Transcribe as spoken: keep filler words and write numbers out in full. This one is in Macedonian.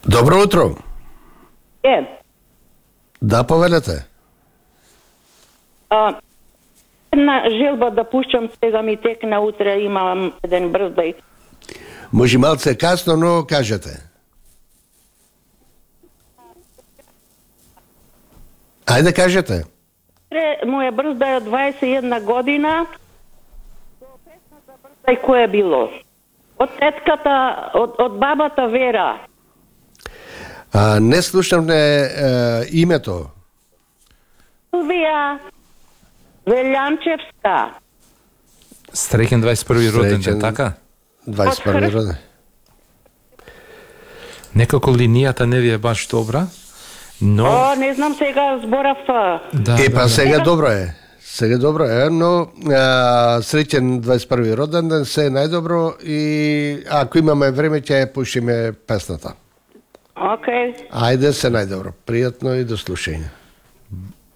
Добро утро. Е. Да, повелете. А, една желба да пушчам, сега ми текна, утре имам еден брздај. Може малце касно, но кажете. Ајде кажете. Утре моја брздај од дваесет и една година. Брздај кој е било? Од тетката, од, од бабата Вера. А, не слушам не е, името. Силвија Велјанчевска. Среќен дваесет и први роден ден, така? дваесет и први роден. Некако линијата не ви е баш добра, но... О, не знам сега зборав. Да, Е, да, па да. сега добро е. Сега добро е, но а, среќен дваесет и први роден ден, се е најдобро и ако имаме време ќе ја пушиме песната. Окей. Ајде, се најдобро. Пријатно и до слушање.